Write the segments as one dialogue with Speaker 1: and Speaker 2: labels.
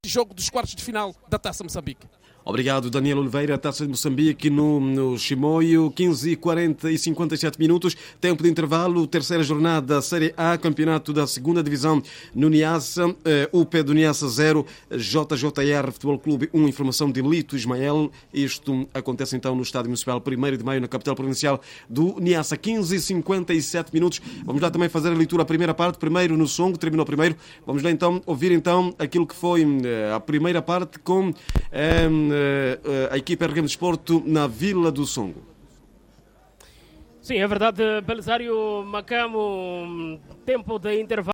Speaker 1: Jogo dos quartos de final da Taça Moçambique.
Speaker 2: Obrigado, Daniel Oliveira. Taça de Moçambique no Chimoio, 15:40 e 57 minutos. Tempo de intervalo, terceira jornada da Série A, campeonato da segunda divisão no Niassa, UP do Niassa 0, JJR Futebol Clube 1, informação de Lito Ismael. Isto acontece então no Estádio Municipal 1º de Maio, na capital provincial do Niassa, 15:57 minutos. Vamos lá também fazer a leitura à primeira parte, primeiro no Songo, terminou primeiro. Vamos lá então ouvir então aquilo que foi a primeira parte com a equipa RM Desporto na Vila do Songo.
Speaker 3: Sim, é verdade, Belisário Macamo, tempo de intervalo.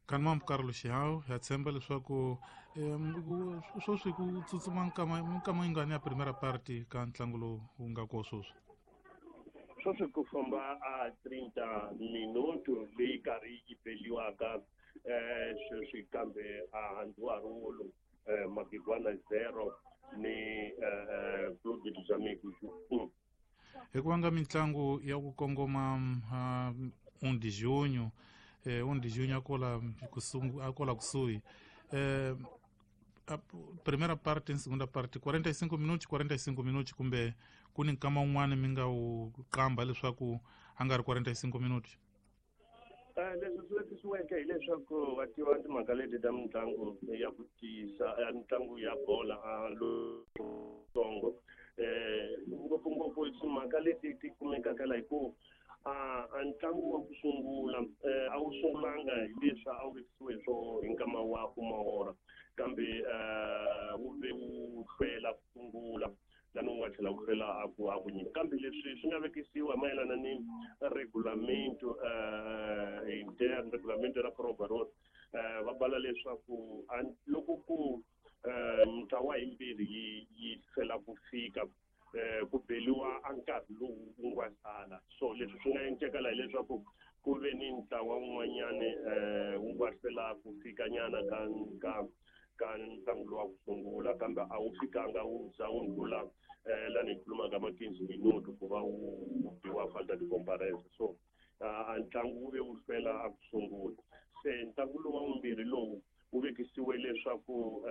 Speaker 4: Kanmam Carlos Xiao, ya tshemba leswaku sweswi ku tsutsuma nkama yingani ya primeira parte ka ntlangu lowu wu nga ko sweswi?
Speaker 5: Sweswi ku famba a 30 minuto leyi karhi yi beliwaka sweswi kambe a Handuarulu Magigwana 0 ni Clube dos Amigos 1.
Speaker 4: Hi ku vanga mitlangu ya ku kongoma 1 de junho, 1 de junho akola kusuhi. A primeira parte e segunda parte 45 minutos, 45 minutos kumbe ku ni nkama wun'wana mi nga wu qamba leswaku a nga ri 45 minutos.
Speaker 5: Leswi swi vekisiweke hileswaku va tiva timhaka leti ta mitlangu ya ku tiyisa mitlangu ya bola lowutsongo, ngopfungopfu timhaka leti ti kumekaka la hi ku a ntlangu wa ku sungula a wu sungulanga hi leswi a wu vekisiwe swo hi nkama wa kumahora, kambe wu ve wu hlwela ku sungula lani wu nga tlhela wu hlwela a ku nyika. Kambe leswi swi nga vekisiwa mayelana ni regulamento interne, regulamento ra Pro Road, va bala leswaku loko ku mintlawa yimbirhi yi hlwela ku fika ku beliwa a nkarhi lowu wu nga sala. So leswi swi nga endleka la hileswaku ku ve ni ntlawa wun'wanyani wu nga hlwela ku fika nyana ka ntlangu lowu wa ku sungula, kambe a wu fikanga wu za wu ndlula lani hi khulumaka ma 15 minuto ku va wu biwa falta de comparence. So a ntlangu wu ve wu hlwela a ku sungula. Se ntlangu lowu wa vumbirhi lowu wu vekisiwe leswaku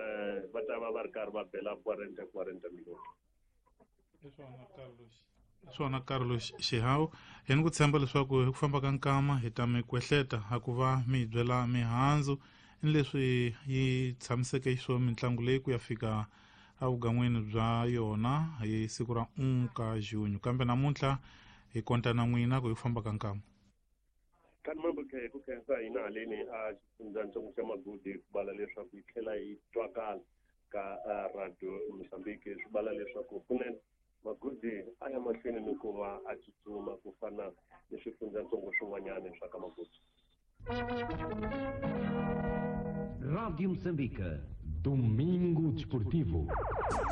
Speaker 5: va ta va va ri karhi va bela 40 minuto.
Speaker 4: Swona Carlos Xihau, hi ni ku tshemba leswaku hi ku famba ka nkama hi ta mi kwehleta a ku va mi hi byela mihandzu ni leswi yi tshamiseke xiswona mitlangu leyi ku ya fika evugan'wini bya yona hi siku ra 1 ka junho. Kambe namuntlha hi konta na n'wina ku hi ku famba ka nkama.
Speaker 5: Kanimambo ku khensa hina haleni a xifundzatsongo xa Magudi ku bala leswaku yi tlhela yi twakala ka Radio Mozambique, swi bala leswaku kunene Magudi a ya mahlweni ni ku va a tsutsuma ku fana ni swifundzatsongo swin'wanyana swa ka Magudi.
Speaker 6: Rádio Moçambique.
Speaker 7: Domingo Desportivo.